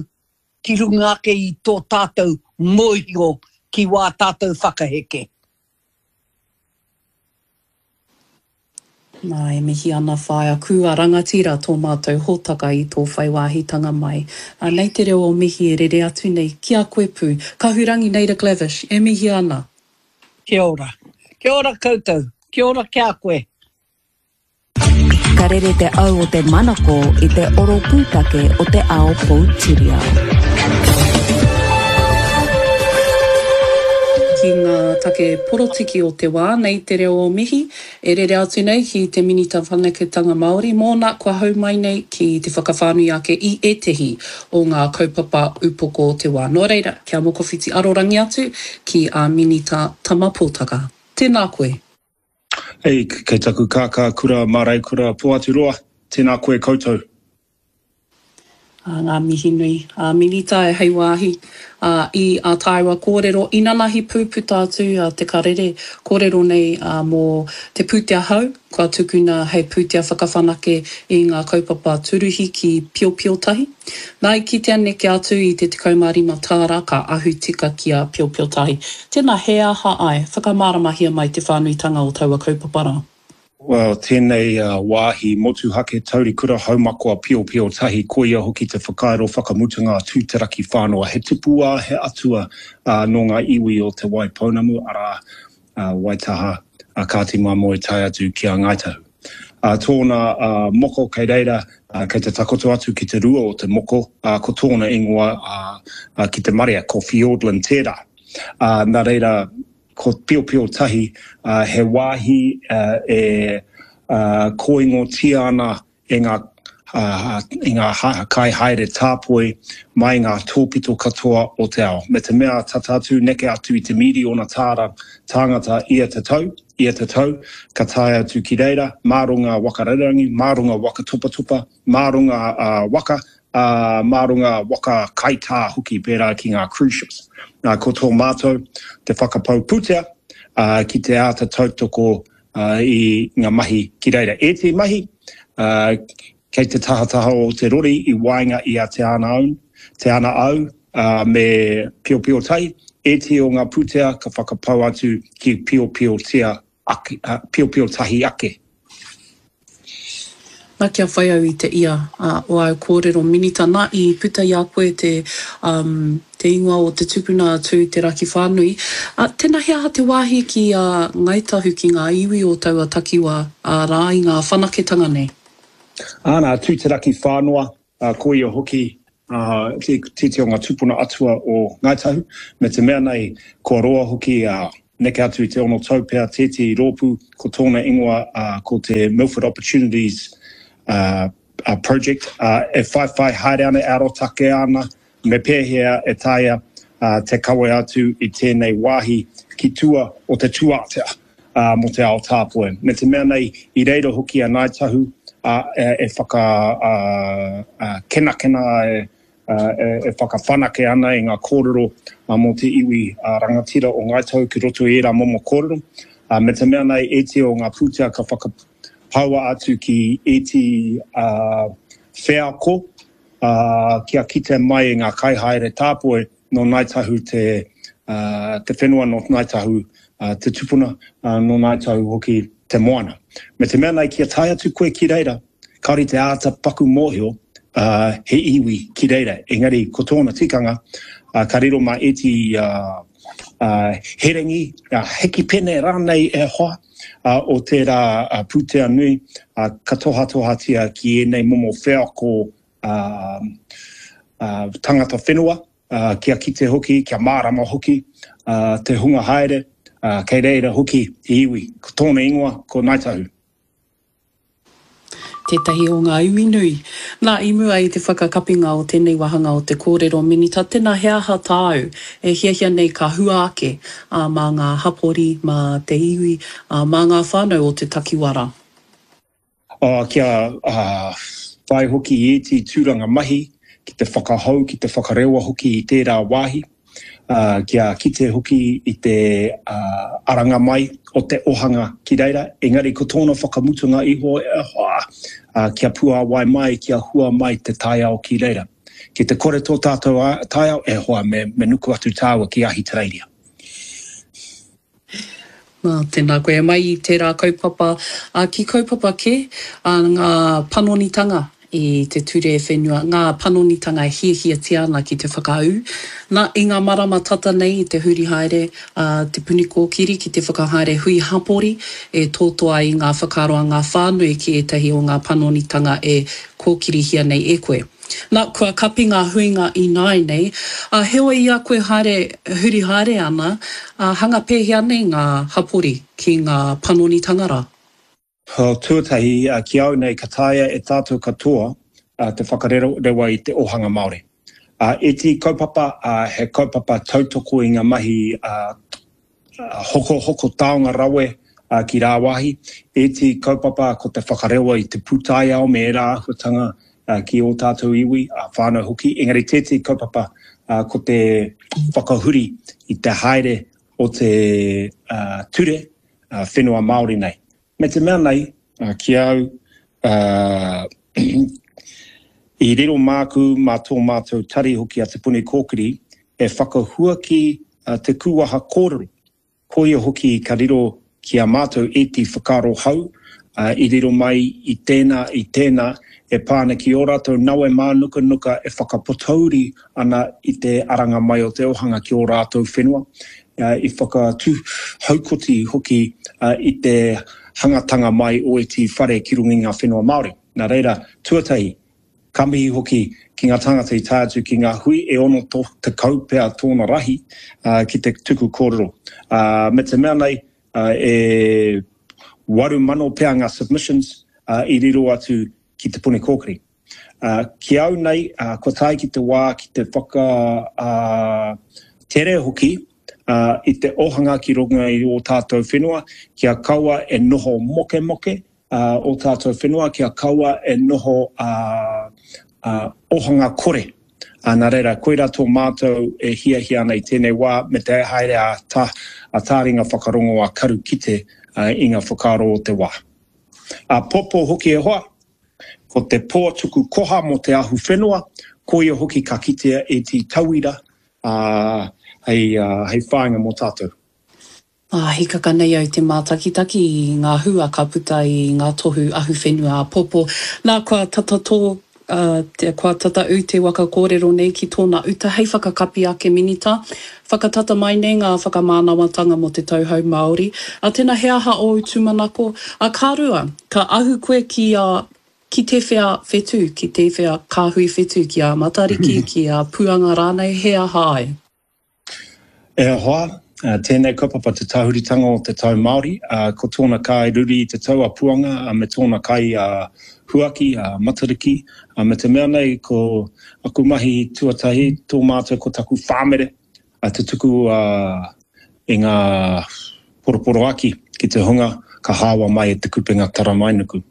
ki runga ake i tō tātou mōhio ki wā tātou whakaheke. Nā, e mihi ana Whaea Kua rangatira tō mātou hōtaka i tō whai wāhitanga mai. Ā, nei te reo o mihi e rere atu nei ki a koe pū. Kahurangi Naida Glavish, e mihi ana. Kia ora. Kia ora koutou. Kia ora ki a koe. Ka rere te au o te manako i te oro pūtake o te ao poutiriao. Ki ngā take porotiki o te wā, nei te reo o mihi, e rere atu nei ki te Minita Whanaketanga Māori, mōna kua hau mai nei ki te whakawhānui ake i ētehi o ngā kaupapa upoko o te wā. Nō reira, kia mokowhiti arorangi atu ki a Minita Tama Potaka. Tēnā koe. Ei, kei taku kākā kura māreikura Poaturoa, tēnā koe koutou. Ā, ngā mihi nui ā Minita e hei wāhi ā i ā tāua kōrero inanahi pū puta atu a Te Karere kōrero nei ā mō te pūtea hou kua tukuna hei pūtea whakawhanake i ngā kaupapa tūruhi ki Piopiotahi. Nā i kitea neke atu i te tekau mā rima tāra ka ahu tika ki a Piopiotahi. Tēnā he aha ai? Whakamāramahia mai te whānuitanga o taua kaupapa rā. Well, tēnei wāhi motuhake taurikura haumakoa piopio tahi, koia hoki te whakairo whakamutunga a Tūteraki Whānoa, he tupua, he atua nō ngā iwi o Te Wai Pounamu, arā, Waitaha, Kāti Māmoe tae atu ki a Ngāi Tahu. Tōna moko kei reira, kei te takoto atu ki te rua o te moko, ko tōna ingoa ki te marea, ko Fiordland tērā. Nā reira, Ko Piopio Tahi he wāhi e kōingotia ana e ngā i ngā kaihaere tāpoi mai ngā tōpito katoa o te ao. Me te mea tata atu, neke atu i te mīriona tāra tāngata ia te tau, ia te tau, ka tae atu ki reira, mā runga waka rererangi, mā runga waka topatopa, mā runga waka, ā, mā runga waka kaitā hoki pērā ki ngā cruise ships. Nā, ko tō mātou te whakapau pūtea, ā, ki te āta tautoko, ā, i ngā mahi ki reira. Ētehi mahi, ā, kei te tahataha o te rori i waenga i a Te Ana Au, Te Ana Au, ā, me Piopiotahi, ētehi o ngā pūtea ka whakapau atu ki Piopiotia ake, ā, Piopiotahi ake. Nā, kia whai au i te ia o āu kōrero Minita, nā, i puta i a koe te, um, te ingoa o te tupuna a Tū Te Rakiwhānui. Ā, tēnā he aha te wāhi ki a Ngāi Tahu ki ngā iwi o taua takiwā, ā, rā i ngā whanaketanga nei? Ā, nā, Tū Te Rakiwhānoa, ā, ko ia hoki, ā, tētehi o ngā tupuna atua o Ngāi Tahu, me te mea nei, kua roa hoki, ā, neke atu i te ono tau pea tētehi rōpū, ko tōna ingoa ko te Milford Opportunities Project, e whaiwhai haere ana, e arotake ana me pēhea e taea te kawe atu i tēnei wāhi ki tua o te tūātea mō te ao tāpoi. Me te mea nei, i reira hoki a Ngāi Tahu e whakakenakena, e e whakawhanake ana i ngā kōrero mō te iwi rangatira o Ngāi Tahu ki roto i ērā momo kōrero, me te mea nei ētehi o ngā pūtea ka whakapaua atu ki ētehi wheako kia kite mai i ngā kaihaere tāpoi nō Ngāi Tahu te whenua, nō Ngāi Tahu te tupuna, nō Ngāi Tahu hoki te moana. Me te mea nei kia tae atu koe ki reira, kāore te āta paku mōhio he iwi ki reira, engari ko tōna tikanga, ka riro mā ētehi herengi, hekipene rānei e hoa o tērā pūtea nui, ka tohatohatia ki ēnei momo wheako tangata whenua, kia kite hoki, kia mārama hoki te hunga haere, kei reira hoki he iwi. Ko tōna ingoa ko Ngāi Tahu. Tētahi o ngā iwi nui. Nā, i mua i te whakakapinga o tēnei wāhanga o te kōrero Minita, tēnā he aha tāu e hiahia nei ka hua ake, ā, mā ngā hapori, mā te iwi, ā, mā ngā whānau o te takiwā rā? Ā, kia whai hoki i ētehi tūranga mahi ki te whakahou, ki te whakarewa hoki i tērā wāhi. kia kite hoki i te aranga mai o te ohanga ki reira, engari ko tōna whakamutunga iho e hoa, kia puāwai mai, kia hua mai te taiao ki reira. Ki te kore tō tātou taiao, e hoa, me, me nuku atu tāua ki Ahitereiria. Nā, tēnā koe. Mai i tērā kaupapa, ki kaupapa kē, ngā panonitanga i te ture whenua, ngā panonitanga e hiahiatia ana ki te whakaū. Nā, i ngā marama tata nei i te huri haere a Te Puni Kōkiri ki te whakahaere hui hapori e tōtō ai i ngā whakaaro a ngā whānui ki ētahi o ngā panonitanga e kōkirihia nei e koe. Nā, kua kapi ngā huinga ināinei, ā, heoi i a koe haere, huri haere ana, ā, hanga pēhea nei ngā hapori ki ngā panonitanga rā? Tuatahi, ki au nei, ka taea e tātou katoa te whakarewa i te ohanga Māori. Ētehi kaupapa, he kaupapa tautoko i ngā mahi hokohoko taonga rawe ki rāwāhi, ētehi kaupapa ko te whakarewa i te pūtaiao me ērā āhuatanga ki ō tātou iwi, whānau hoki, engari tētehi kaupapa ko te whakahuri i te haere o te ture whenua Māori nei. Me te mea nei, ki au, i riro māku, mā tō mātou tari hoki a Te Puni Kōkiri, e whakahuaki te kūwaha kōrero. Koia hoki ka riro ki a mātou ētehi whakaaro hou, i riro mai i tēnā, i tēnā, e pā ana ki ō rātou nawe mānukanuka e whakapotouri ana i te aranga mai o te ohanga ki ō rātou whenua. I whakatūhaukoti hoki i te hangatanga mai o ētehi whare ki runga i ngā whenua Māori. Nā reira, tuatahi, ka mihi hoki ki ngā tāngata i tae atu ki ngā hui e ono tekau pea tōna rahi ki te tuku kōrero. Me te mea nei, e waru mano pea ngā submissions i riro atu ki Te Puni Kōkiri. Ki au nei, kua tae ki te wā ki te whakatere hoki i te ohanga ki runga i ō tātou whenua, kia kaua e noho mokemoke ō tātou whenua, kia kaua e noho ohanga kore. Nā reira, koirā tō mātou e hiahia ana i tēnei wā me te haere a tāringa whakarongo a karu kite i ngā whakaaro o te wā. Āpōpō hoki e hoa, ko te pō tuku koha mō te ahu whenua, koia hoki ka kitea ētehi tauira hei whāinga mō tātou. Ā, hikaka nei au te mātakitaki i ngā hua ka puta i ngā tohu ahuwhenua āpōpō. Nā, kua tata tō, ā, kua tata ū te waka kōrero nei ki tōna uta hei whakakapi ake Minita. Whakatata mai nei ngā whakamānawatanga mō te tau hou Māori. Ā, tēnā he aha ōu tūmanako? Ā, ka rua, ka ahu koe ki a, ki tēwhea whetū, ki tēwhea kāhui whetū, ki a Matariki, ki a Puanga rānei, he aha ai? E hoa, tēnei kaupapa te tahuritanga o te tau Māori, ko tōna kai ruri i te tau a Puanga me tōna kai a Huaki, a Matariki, me te mea nei ko aku mahi tuatahi, tō mātou ko taku whāmere te tuku i ngā poroporoaki ki te hunga ka hāwa mai e Te Kupenga Taramainuku.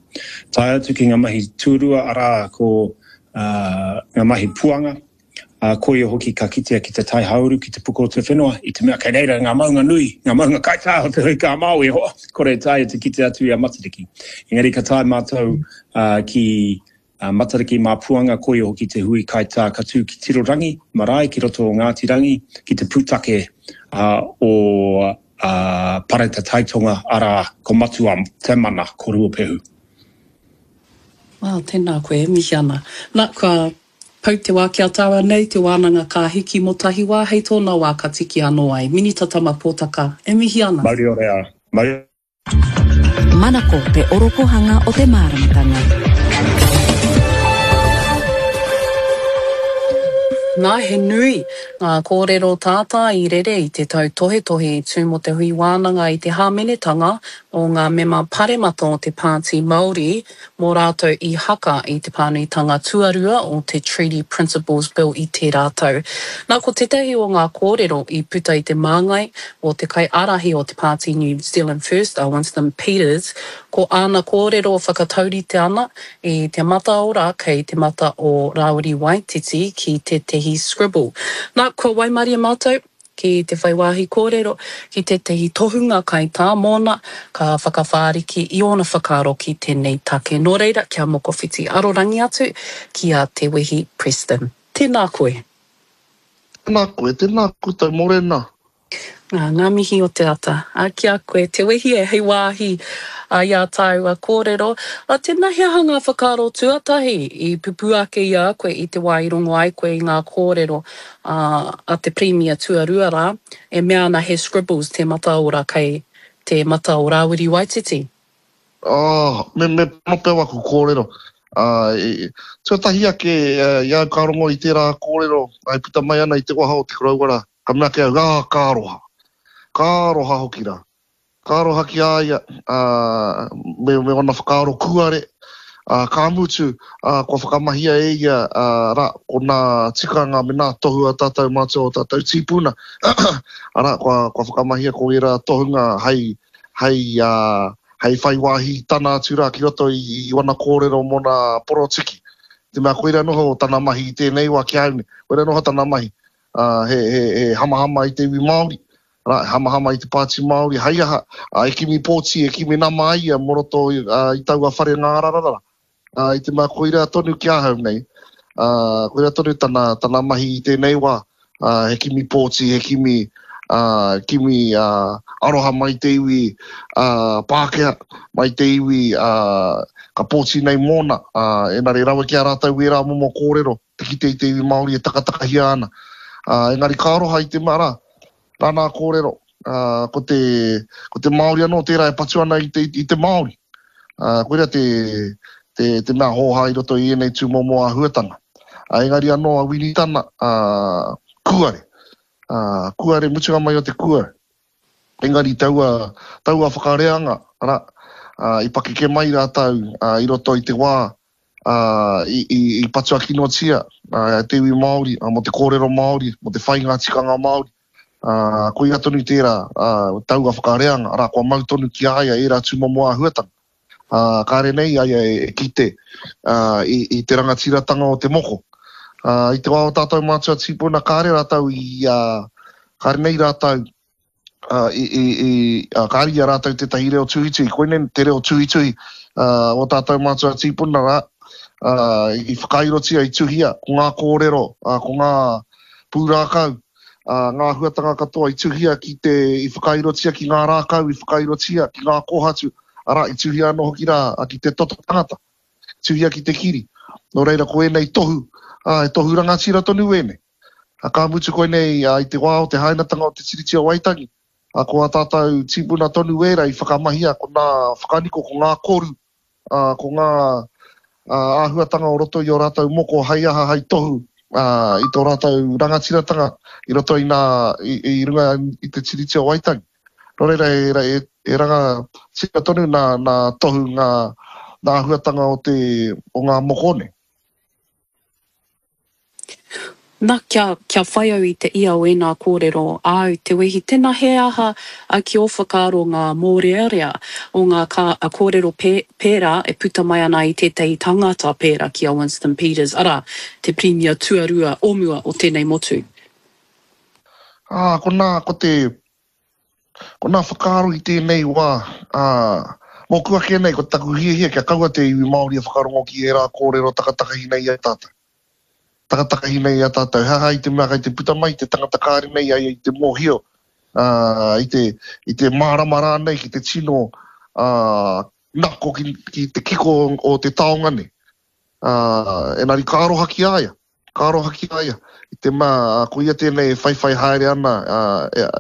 Tae atu ki ngā mahi tuarua arā ko ngā mahi Puanga, Ā, koia hoki ka kitea ki te tai hauuru, ki te puku o te whenua, i te mea kei reira ngā maunga nui, ngā maunga kaitā o te Huika a Māui, e hoa, kore e taea te kite atu i a Matariki. Engari ka tae mātou ki Matariki mā Puanga, koia hoki te hui kaitā ka tū ki Tirorangi marae, ki roto o Ngāti Rangi, ki te pūtake o Pareta Taitonga, arā, ko Matua Te Mana, ko Ruapehu. Ā, tēnā koe, e mihi ana. Nā, kua Pau te wā ki a tāua nei te wānanga ka hiki mō tahi wā hei tōna wā ka tiki anō ai. Minita Tama Pōtaka, e mihi ana. Mauri ora, mauri. Manako te orokohanga o te māramatanga. Nā, he nui ngā kōrero tātā i rere i te tautohetohe i tū mō te hui wānanga i te hāmenetanga o ngā mema paremata o te Pāti Māori mō rātou i haka i te pānuitanga tuarua o te Treaty Principles Bill i tērā tau. Nā, ko tētahi o ngā kōrero i puta i te māngai o te kaiārahi o te pāti New Zealand First, a Winston Peters, ko āna kōrero whakataurite ana i te mataora kei te mata o Rāwiri Waititi ki tētahi scribble. Nā, kua waimarie mātou, ki te whai wāhi kōrero ki tētahi tohunga kaitā mōna ka whakawhāriki i ōna whakaaro ki tēnei take. Nō reira, kia mokowhiti arorangi atu ki a Te Wehi Preston. Tēnā koe. Tēnā koe, tēnā koutou, mōrena. Ngā, ngā mihi o te ata. Ā, ki a koe, Te Wehi e, hei wāhi i ā tāua kōrero. Ā, tēnā he aha ngā whakaaro tuatahi i pupū ake i a koe i te wā i rongo ai koe i ngā kōrero a, a te Pirimia tuarua rā, e mea ana he scribbles te mataora kei te mata o Rāwiri Waititi? Oh, me, me pono pea waku kōrero. Ā, e, tuatahi ake, i a au ka rongo i tērā kōrero, e puta mai ana i te waha o te koroua rā, ka mea ake au, ā, ka aroha. Ka aroha hoki rā. Ka aroha ki a ia, ā, me, me ōna whakaaro kūare, ā, ka mutu, ā, kua whakamahia e ia, ā, rā, ko nā tikanga me nā tohu a tātou mātua o tātou tīpuna, arā, kua, kua whakamahia ko ērā tohunga hei, hei, ā, hei whai wāhi tana atu rā ki roto i, i wana kōrero mōna porotiki. Te mea koira noho tana mahi i tēnei wā ki a au nei, koira noho tana mahi, ā, he, he, he hamahama i te iwi Māori, arā, he hamahama i te Pāti Māori, hei aha, ā, e kimi pōti, e kimi nama ai ia mō roto i, ā, i taua whare ngārararara. Ā, i te mea koira tonu ki ahau nei, ā, koira tonu tana, tana mahi i tēnei wā, ā, he kimi pōti, he kimi, ā, kimi, ā, aroha mai te iwi, ā, Pākehā, mai te iwi, ā, ka pōti nei mōna, ā, engari rawe ki a rātou ērā momo kōrero, te kite i te iwi Māori e takatakahia ana. Ā, engari ka aroha i te mea rā, Nāna kōrero, ā, ko te, ko te Māori anō tērā e patu ana i te, i te Māori. Ā, koira te, te, te mea hōhā i roto i ēnei tūmomo āhuatanga. Ā, engari anō a Winitana, ā, kūare. Ā, kūare, mutunga mai o te kūare. Engari taua, taua whakareanga, arā, ā, i pakeke mai rātou, ā, i roto i te wā, ā, i, i, i patua kinotia, ā, e te iwi Māori, ā, mō te kōrero Māori, mō te whai ngā tikanga Māori. Ā, koia tonu tērā, ā, taua whakareanga, arā, kua mau tonu ki a ia ērā tūmomo āhuatanga. Ā, kāre nei a ia e, e kite, ā, i, i te rangatiratanga o te moko. Ā, i te wā o tātou mātua tīpuna, kāre rātou i, ā, kāre nei rātou, ā, i, i, i, ā, kāre i a rātou tētahi reo tuhituhi. Koinei te reo tuhituhi, ā, o tātou mātua tīpuna rā, ā, i whakairotia, i tuhia, ko ngā kōrero, ā, ko ngā pūrākau, ā, ngā āhuatanga katoa i tuhia ki te, i whakairotia ki ngā rākau, i whakairotia ki ngā kōhatu, arā, i tuhia anō hoki rā ki te toto tangata, tuhia ki te kiri. Nō reira, ko ēnei tohu, ā, he tohu rangatira tonu ēnei. Ā, ka mutu koinei, ā, i te wā o te hainatanga o te Tiriti o Waitangi, ā, ko ā tātou tīpuna tonu ērā i whakamahia, ko nā whakaniko, ko ngā koru, ā, ko ngā āhuatanga o roto i ō rātou moko hei aha, hei tohu i tō rātou rangatiratanga i roto i nā, i, i runga i te Tiriti o Waitangi. Nō reira, e, e, e rangatira tonu nā, nā tohu ngā, nā āhuatanga o te, o ngā moko nei. Na, kia, kia whai au i te ia o ēnā kōrero āu, Te Wehi, tēnā he aha ki ō whakaaro ngā mōrearea o ngā kā, kōrero pē, pērā e puta mai ana i tētahi tangata pērā ki a Winston Peters, arā, te Pirimia tuarua o mua o tēnei motu? Ā, konā, ko te, konā whakaaro i tēnei wā, ā, mōku ake nei, ko taku hiahia kia kaua te iwi Māori e whakarongo ki ērā kōrero takatakahi nei i a tātou. Takatakahi nei i a tātou. He aha i te mea kei te puta mai te tangata kāre nei a ia i te mōhio, ā, i te, i te mārama rānei ki te tino, ā, nako ki, ki te kiko o te taonga nei. Ā, engari ka aroha ki a ia, ka aroha ki a ia, i te mea, ā, ko ia tēnei e whaiwhai haere ana, ā, e,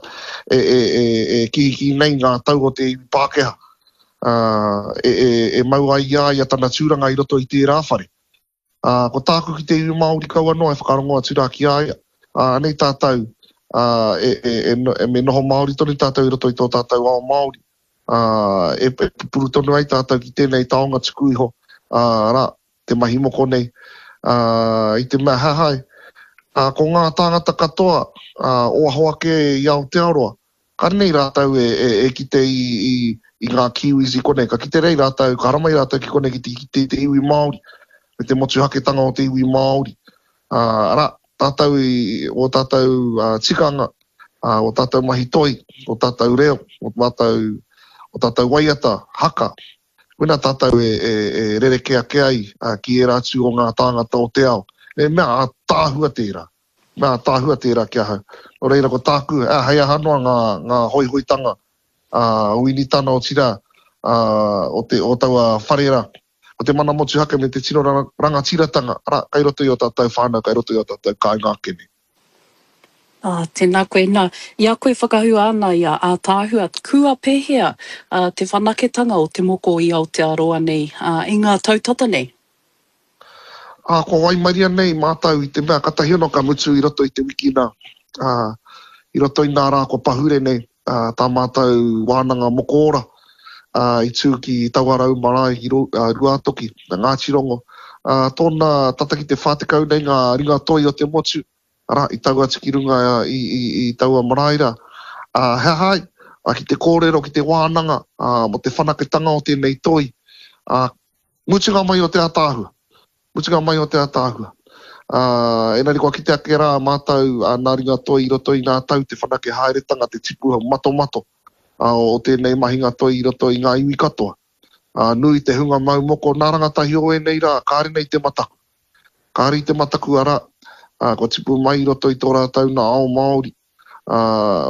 e, e, e, e kihikī nei ngā tau o te iwi Pākehā, ā, e, e, e mau ai i a ia tana tūranga i roto i tērā whare. Ā, ko tāku ki te iwi Māori kaua noa e whakarongo atu rā ki a ia. Ā, anei tātou, ā, e, e, e, e, me noho Māori tonu tātou i roto i tō tātou ao Māori. Ā, e, e pupuru tonu ai tātou ki tēnei taonga tuku iho, ā, arā, te mahi moko nei. Ā, i te mea he aha ai, ā, ko ngā tāngata katoa, ā, o aho ake i Aotearoa, Ka nei rātou e, e, e kite i, i, i ngā Kiwis i konei. Ka kite rei rātou, ka haramai rātou ki konei ki te kite i te iwi Māori, me te motuhaketanga o te iwi Māori. Ā, arā, tātou i, ō tātou uh, tikanga, ā, ō tātou mahi toi, ō tātou reo, ō mātou, ō tātou waiata, haka. Koinā tātou e, e, e rerekē ake ai uh, ki ērā atu o ngā tāngata o te ao. Me mea ātaahua tērā. Nā, tāhua tērā ki ahau. Nō reira, ko tāku, ā, hei aha noa ngā, ngā hoihoitanga, ā, o Winitana, otirā, ā, o te, o taua whare rā. Ko te mana motuhake me te tino rangatiratanga, arā, kei roto i ō tātou whānau, kei roto i ō tātou kāinga ake nei. Ā, tēnā koe. Nā, i a koe whakahua ana i a Ātaahua, kua pēhea, ā, te whanaketanga o te moko i Aotearoa nei, ā, i ngā tau tata nei? Ā, kua waimaria nei mātou i te mea katahi anō ka mutu i roto i te wiki nā, ā, i roto i nā rā kua pahure nei, ā, tā mātou wānanga moko ora, ā, i tū ki Tauarau marae ki Ruātoki, Ngāti Rongo, ā, tōna tata ki te whā tekau nei ngā ringa toi o te motu, arā, i tau atu ki runga i, i, i taua marae rā. Ā, he aha ai? Ā, ki te kōrero, ki te wānanga, ā, mō te whanaketanga o tēnei toi, ā, mutunga mai o te ātaahua. Mutunga mai o te ataahua. Ā, engari kua kite ake rā mātou, ā, nā ringa toi i roto i ngā tau te whanake haeretanga, te tipu matomato, ā, o tēnei mahinga toi i roto i ngā iwi katoa. Ā, nui te hunga mau moko nā rangatahi o ēnei rā, kāre nei te mataku. Kāre i te mataku, arā, ā, kua tipu mai i roto i tō rātou nā ao Māori, ā,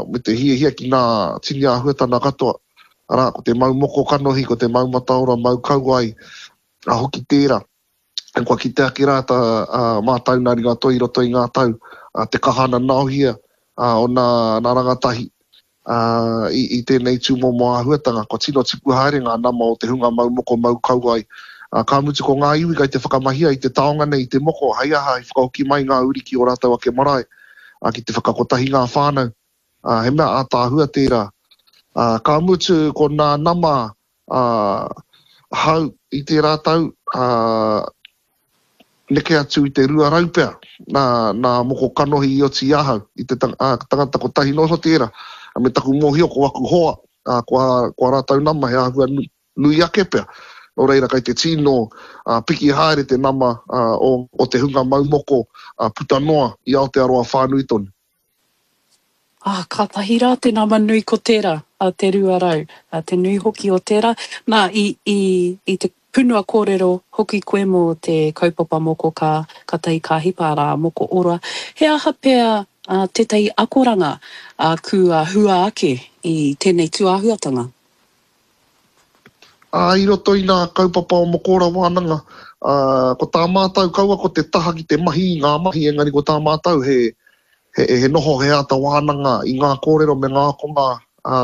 me te hiahia ki ngā tini āhuatana katoa, arā, ko te mau moko kanohi, ko te mau mataora, mau kauae, ā, hoki tērā. Kua kite ake rā tā mātau nā ringa toi i roto i ngā tau, te kaha nanaohia o nā, nā rangatahi i, i tēnei tūmomo āhuatanga. Kua tino tipu haere ngā nama o te hunga mau moko, mau kauae. Ka mutu ko ngā iwi kai te whakamahia i te taonga nei, i te moko, hei aha, i whakahoki mai ngā uri ki ō rātou ake marae, ki te whakakotahi ngā whānau. He mea ātaahua tērā. Ka mutu ko nā nama hau i tērā tau, ā, neke atu i te rua rau pea nā, nā moko kanohi i oti i ahau, i te tang, ā, tangata kotahi noa iho tērā, me taku mōhio ko aku hoa, ā, ko ā, ko ā rātou nama he āhua nui, nui ake pea. Nō reira, kei te tino, ā, piki haere te nama, ā, o, o te hunga mau moko, ā, puta noa i Aotearoa whānui tonu. Ā, kātahi rā te nama nui ko tērā, a te rua rau, ā, te nui hoki o tērā. Nā, i, i, i te punua kōrero hoki koe mō te kaupapa moko ka, katahi ka hipa, arā, moko ora. He aha pea tētahi akoranga kua hua ake i tēnei tūāhuatanga? Ā, i roto i ngā kaupapa o Mokora Wānanga, ā, ko tā mātou kaua ko te taha ki te mahi i ngā mahi, engari ko tā mātou he, he, he noho, he āta wānanga i ngā kōrero me ngā akonga, ā,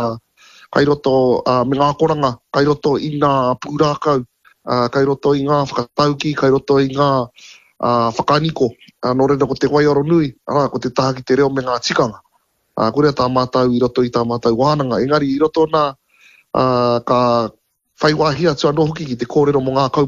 kai roto, ā, me ngā akoranga kai roto i ngā pūrākau, ā, kai roto i ngā whakataukī, kai roto i ngā, ā, whakaniko. Ā, nō reira ko te waiaro nui, arā, ko te taha ki te reo me ngā tikanga. Ā, koria tā mātou i roto i tā mātou wānanga. Engari i roto nā, ā, ka whai wāhi atu anō hoki ki te kōrero mō ngā kaupapa.